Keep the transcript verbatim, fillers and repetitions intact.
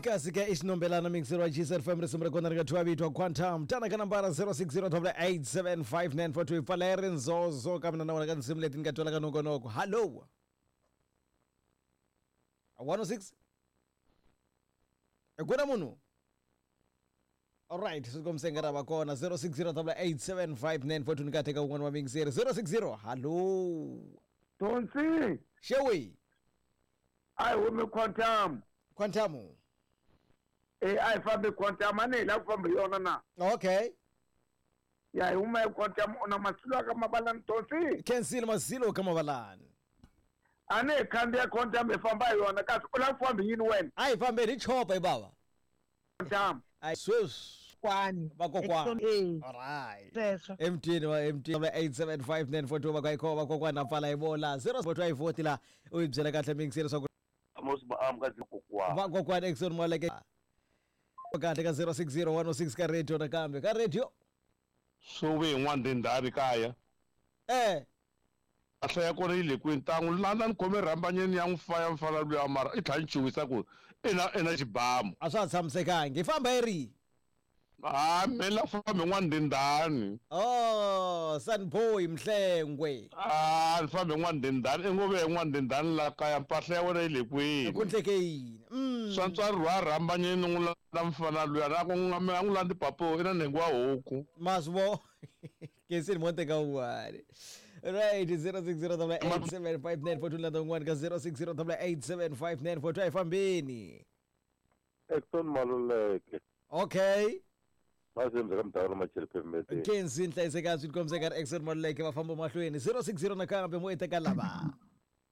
Kasi ka isinombelana mixer wa G S F M risimu ra kona ri nga thyiwa vito Quantum tana ka nambara zero six zero eight seven five nine four two pfala ri nzozo ka mina na wena ka tinsimu leti ni nga twela ka nongonoko. Hello one oh six ku na munhu. Alright, swi kombisa nga ra va kona zero six zero eight seven five nine four two ni ka teka un'wana wa mixer zero six zero. Hello Tonsi Shewi I humi Quantum Quantum eh I fambi Quantum ane la ku famba yona na. Okay ya huma Quantum ona masilo ka mabalani Tonsi Kensile masilo ka mabalani ane khandiya Quantum e famba yona kasi u la ku famba yini wena a hi fambe hi chopa hi baba Quantum ai sweswi kwani vakokwani. Alright sweswo M T wa M T eight seven five nine four two va ka va kokwana pfala hi vola zero four two four la u yi byela kahle mixer leswaku Amos ba am ka kokwana va kokwana Exxon Maleke kahle ka zero six zero one oh six ka radio nakambe ka radio so ve n'wana ndindani kaya eh a hlaya kona yi le kwini ntangu landa ni khome rhambanyeni ya n'wi faya mfana luya mara i tlhela ni chuhisa ku i na i na xibamu a swa ha tshamisekangi hi famba hi rihi a me la fambi n'wana ndindani. Oh Sunboy Mhlengwe a ni fambi n'wana ndindani i ngo ve n'wana ndindani la kaya mpahla ya wena yi le kwini ku ndleke yini mm swa ntswari rhwa rhambanyeni n'wi landa mfana luya na ku n'wi n'wi landi papo i na nhengu wa huku maswo Kensile monte ka un'wana. Right zero six zero eight seven five nine four two landa un'wana ka zero six zero eight seven five nine four two a hi fambeni Exxon Maluleke. Okay Mazembe ka mdawula machele pemete Kenzi nhlayiseka swi kombisa ka Exxon Maluleke va famba mahlweni zero six zero nakambe mo eteka lava